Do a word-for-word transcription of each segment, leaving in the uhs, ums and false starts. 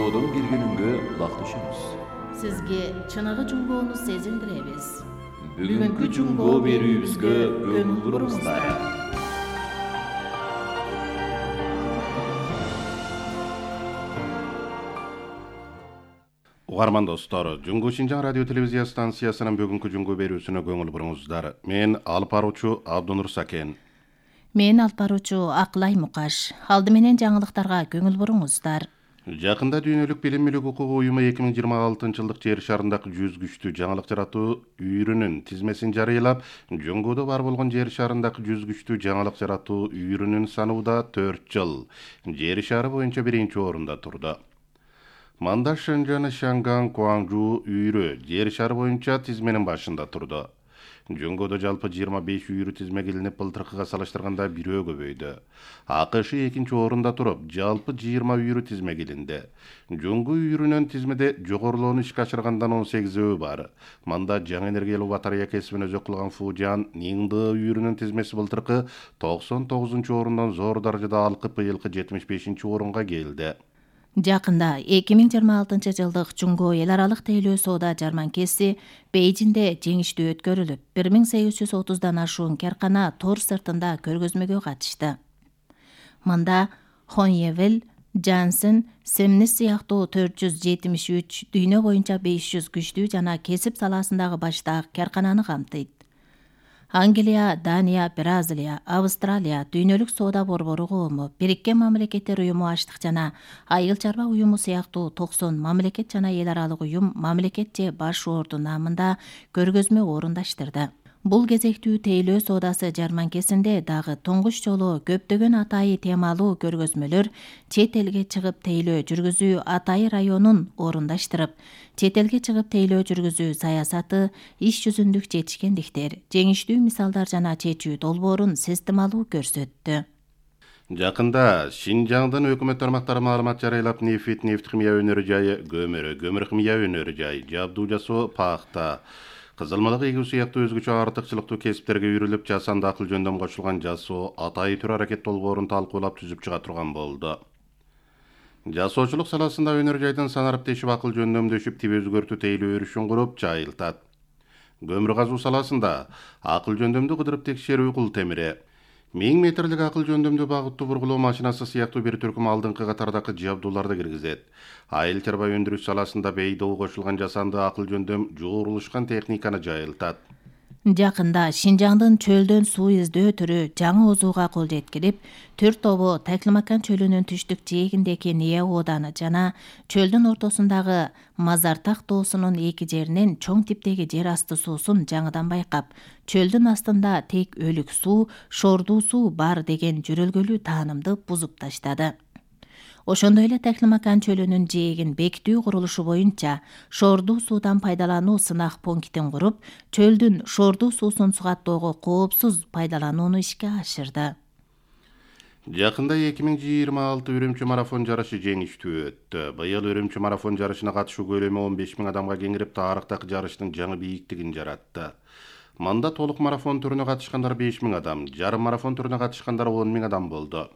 Жунгоодон киргениңге улакташабыз. Сизге чыныгы жунгоону сезилдиребиз. Бүгүнкү жунгоо берүүбүзгө көңүл буруңуздар. Угарман достор, Жунгу Шинжаң радио телевизия станциясынын бүгүнкү жунгу берүүсүнө көңүл буруңуздар. Мен алып баруучу Абдунур Сакен. Мен алып баруучу Акылай Мукаш. Алды менен жаңылыктарга көңүл буруңуздар. Жакында Дүйнөлүк билим-мүлүк укугу уюму эки миң жыйырма алтынчы жылдык жер шарындагы жүз күчтүү жаңылык жаратуу үйрүнүн тизмесин жарыялап, Жунгуудо бар болгон жер шарындагы жүз күчтүү жаңылык жаратуу үйрүнүн санууда төрт жыл жер шары боюнча биринчи орунда турду. Манда Шэньчжэн, Шанган, Гуанчжоу үйрө жер шары боюнча тизменин башында турду. Жунгуудо жалпы жыйырма беш үйрү тизме келинип, былтыркыга салыштырганда бирөө көбөйдү. АКШ экинчи орунда туруп, жалпы жыйырма үйрү тизме келинди. Жунгу үйрүнүн тизмеде жогорулоону ишке ашыргандан он сегизөө бар. Манда жаңы энергиялуу батарея кесибин өзөк кылган Фужан Ниңды үйрүнүн тизмеси былтыркы токсон тогузунчу орундан зор даражада алкып, быйылкы жетимиш бешинчи орунга келди. Жакында эки миң жыйырма алтынчы жылдык Жунгоо эл аралык тейлөө соода жарманкеси Бейжинде жеңиштүү өткөрүлүп, бир миң сегиз жүз отуздан ашуун каркана тор сыртында көргөзмөгө катышты. Мында Хоньевел, Джансен, Семнис сыяктуу төрт жүз жетимиш үч дүйнө боюнча беш жүз күчтүү жана кесип саласындагы баштаак каркананы камтыйт. Англия, Дания, Бразилия, Австралия, Дүйнөлүк соода борбору коому, Бириккен Мамлекеттер уюму аштык жана айыл чарба уюму сыяктуу токсон мамлекет жана эл аралык уюм мамлекет же баш орду наамында көргөзмө орундаштырды. Бул кезектүү тейлөө соодасы жарманкесинде дагы туңгуч жолу көптөгөн атайы темалуу көргөзмөлөр чет элге чыгып тейлөө жүргүзүү Атайы районун орундаштырып, чет элге чыгып тейлөө жүргүзүү саясаты, иш жүзүндүк жетишкендиктер, жеңиштүү мисалдар жана чечүү долбоорун системалуу көрсөттү. Жакында Шинжаңдын өкмөт тармактары маалымат жарыялап, нефть, нефть-химия өнөрү жайы, көмүр, көмүр-химия өнөрү жайы, жабдуу жасоо, пахта, кызылмалык эгүү сыяктуу өзгөчө артыкчылыктуу кесиптерге үйрүлүп, жасанды акыл жөндөм кошулган жасоо атайы түр аракет долбоорун талкуулап түзүп чыга турган болду. Жасоочулук саласында өнөр жайдын санарип тешип акыл жөндөмдөшүп, тип өзгөртүү тейлөө өрүшүн куруп жайылтат. Көмүр казуу саласында акыл жөндөмдү кыдырып текшерүү кул темири, миң метрлик акыл жөндөмдүү багыттуу бургулоо машинасы сыяктуу бир түркүм алдыңкы катардагы жабдууларды киргизет. Айыл чарба өндүрүш саласында бейдоо кошулган жасанды акыл жөндөм жуурулушкан техниканы жайылтат. Жакында Шинжаңдын чөлдөн суу издөө түрү жаңы озууга кол жеткирип, төрт тобу Таклимакан чөлүнүн түштүк жээгиндеги Ния ооданы жана чөлдүн ортосундагы Мазартак тоосунун эки жеринен чоң типтеги жер асты суусун жаңыдан байкап, чөлдүн астында тек өлүк суу, шордуу суу бар деген жөрөлгөлүү таанымды бузуп таштады. Ошондой эле Таклимакан чөлүнүн жээгин бекитүү курулушу боюнча шордуу суудан пайдалануу сынак пунктин куруп, чөлдүн шордуу суусун сугаттоого коопсуз пайдаланууну ишке ашырды. Жакында эки миң жыйырма алты Үрүмчү марафон жарышы жеңиштүү өттү. Быйыл Үрүмчү марафон жарышына катышуу көлөмү он беш миң адамга кеңирип, тарыхтагы жарыштын жаңы бийиктигин жаратты. Мында толук марафон түрүнө катышкандар беш миң адам, жарым марафон түрүнө катышкандар он миң адам болду.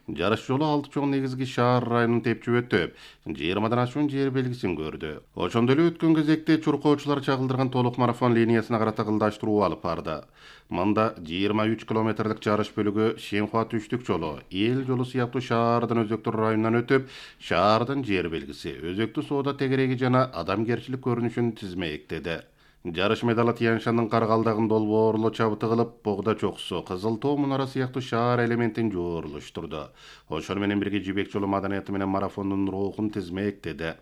Жарыш жолу алты чоң негизги шаар районун тепчип өтүп, жыйырмадан ашуун жер белгисин көрдү. Ошондой эле өткөн кезекте чуркоочулар чагылдырган толук марафон линиясына карата кылдаштыруу алып барды. Мында жыйырма үч километрлик жарыш бөлүгү Шенхуа түштүк жолу, эл жолу сыяктуу шаардын өзөктөр районунан өтүп, шаардын жер белгиси, өзөктүү соода тегереги жана адамгерчилик көрүнүшүн тизмектеди. Жарыш медалы Тянь-Шандын Каргалдагын долбоорло чабыты кылып, Богда чокусу, Кызыл тоо мунара сыяктуу шаар элементин жooруштурду. Ошону менен бирге Жибек жолу маданияты менен марафондун рухун тизмектеди.